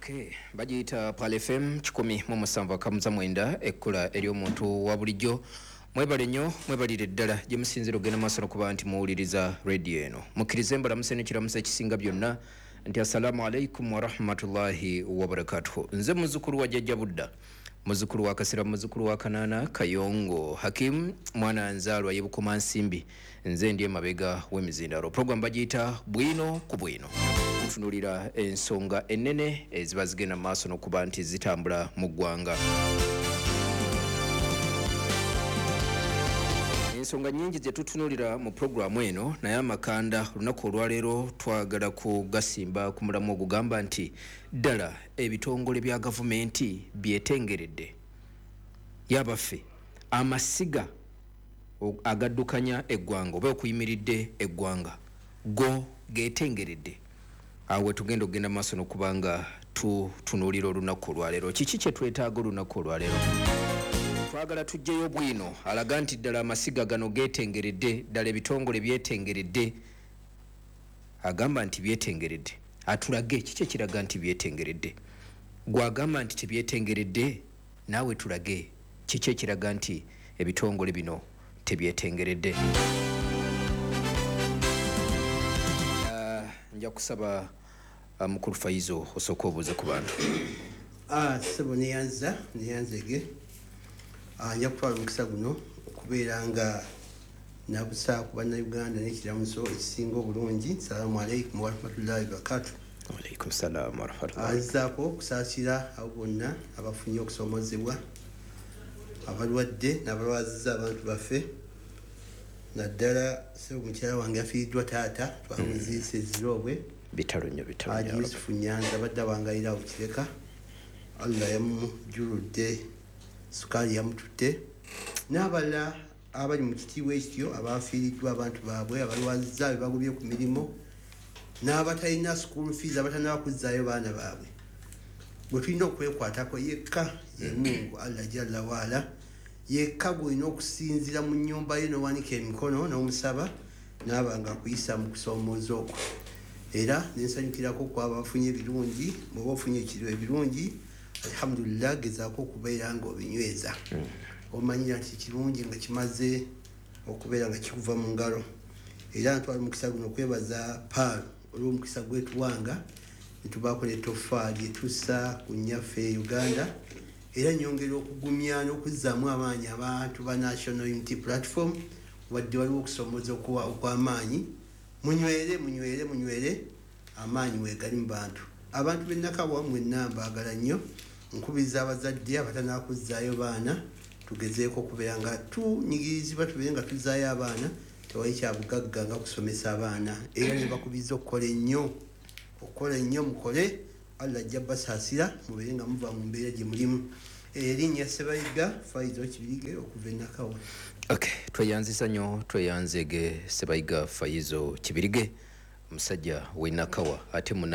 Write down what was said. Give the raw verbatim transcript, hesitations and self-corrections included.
Okay, bagiyita Pearl F M kikumi mu musanvu akamuza mwenda, ekkula ery'omuntu wa bulijjo. Mwebale nnyo, mwebalire ddala gye musinzira okugenda maaso nokuba nti muwuliriza rediyo eno. Mukkirize mbalamusa n'ekiramuso ekisinga byonna nti assalaamu alaikum warahmatullahi wabarakatuhu. Nze muzzukulu wa Jjajja Budda, muzzukulu wa Kasira, muzzukulu wa Kanaana Kayongo Hakimu, mwana nzaalwa y'e Nsimbi. Nze ndi emabega w'emizindalo. Program bagiyita Bwino ku Bwino. Tutunulira ensonga ennene eziba zigenda mu maaso n'okuba nti zitambula mu ggwanga. Ensonga nyingi ze tutunulira mu puroguramu eno, naye amakanda olunaku olwaleero twagala kugasimba ku mulamu ogugamba nti ddala ebitongole bya gavumenti byetengeredde? Yabaffe, amasiga agaddukanya eggwanga oba okuyimiridde eggwanga go getengeredde? Awo tugenda okugenda maaso n'okuba nga tutunuulira olunaku olwaleero. Kiki kye twetaaga olunaku olwaleero? Twagala tugyeyo bwino alaga nti ddala amasiga gano getengeredde, ddala ebitongole byetengeredde. Agamba nti byetengeredde atulage kiki ekiraga nti byetengeredde. Gwagamba nti tebyetengeredde, naawe tulage kiki ekiraga nti ebitongole bino tebyetengeredde. uh, nja kusaba uh, mukulu Faizo osooka obuuze ku bantu. Ah, sebo, neyanza neyanzege. Ah, nja kutwala omukisa guno okubeera nga nabusa ku Bannayuganda n'ekiramuso ekisinga obulungi. Salaamu aleikum warahmatullahi wabarakatu. Alaikum salaam warahmatullahi. Azaako okusaasira abo bonna abafunye okusomozebwa, abalwadde n'abalwaziza abantu baffe, naddala sebo mukyala wange yafiiriddwa taata, twamuziise eziroobwe. Bitalo nnyo, bitalo. Haji Yusufu Nyanza abadde awangalira awo Kireka, Allah yamujuludde, sukaali yamututte, n'abalala abali mu kitiibwa ekityo abafiiriddwa abantu baabwe, abalwaziza, be bagobye ku mirimu, n'abatalina school fees, abatanaba kuzzaayo baana baabwe. Bwe tulina okwekwatako yekka ye Mungu Allah jalla waala yekka gwolina okusinzira mu nnyumba ye n'owanika emikono n'omusaba n'aba nga akuyisa mu kusoomooza okwo. Era nensanyukirako kwaba bafunye ebirungi. Bw'oba ofunye ekiro ebirungi, alhamdulillah, gezaako okubeera nga obinyweza, omanyira nti kirungi nga kimaze okubeera nga kikuva mu ngalo. Era ntwala omukisa guno okwebaza Pearl olw'omukisa gwetuwanga netubaako netoffaali etussa ku nnyaffe Uganda. Era nyongera okugumya n'okuzzaamu amaanyi abantu ba National Unity Platform. Wadde waliwo okusomooza okw'amaanyi, munywere, munywere, munywere, amaanyi weegali mu bantu. Abantu b'ennakawa mwenna mbaagala nnyo. Nkubiriza abazadde abatanakuzzaayo baana, tugezeeko okubeera nga tunyigirizibwa, tubeere nga tuzzaayo abaana. Tewali kyabugagga nga kusomesa abaana. Era ne bakubiriza okukola ennyo, okukola ennyo, mukole, Allah ajja basaasira, mubeere nga muva mu mbeera gye mulimu. Erinnya Sebayiga Faizo Kibirige okuva enakawa. Okay, tweyanziza nnyo, tweyanzege Sebayiga Faizo Kibirige, omusajja w'enakawa ate munna.